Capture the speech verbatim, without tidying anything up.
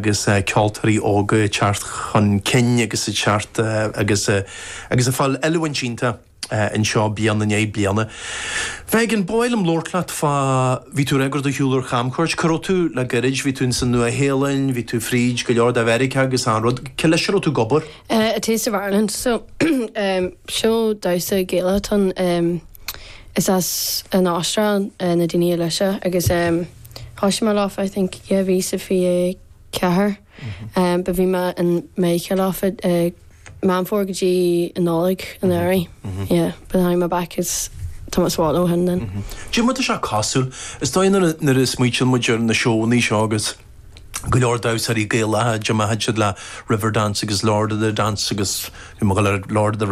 Agus ceoltóirí óga ag teacht chun cinn agus ag teacht agus agus ag fáil oiliúint iontach anseo bliain i ndiaidh bliana. Mhegan, ba mhaith liom labhairt leat fá bhí tú ag do shiúl ar chamchuairt, cá raibh tú le gairid, bhí tú sa Nua-Shéalainn, bhí tú fríd go leor de Mheiriceá agus an rud, Cé leis a raibh tú ag obair? Uh, a Taste of Ireland so um, seó damhsa Gaelach um, is as an Astráil uh, na daoine leise agus um, thosaigh mé leofa I think dhá mhíle is fiche ceathair um, ba bhí mé in Meiriceá leofa uh, Meán Fómhair go dtí an Nollaig anuraidh yeah, but I'm back is Thomas Wallow hin then. Dé mar sé cosúil, is dóigh nuair a smaoiníonn muid ar na seónna seo agus go leor damhsóirí Gaelacha de siad le Riverdance agus Lord of the Dance agus bhí go Lord of the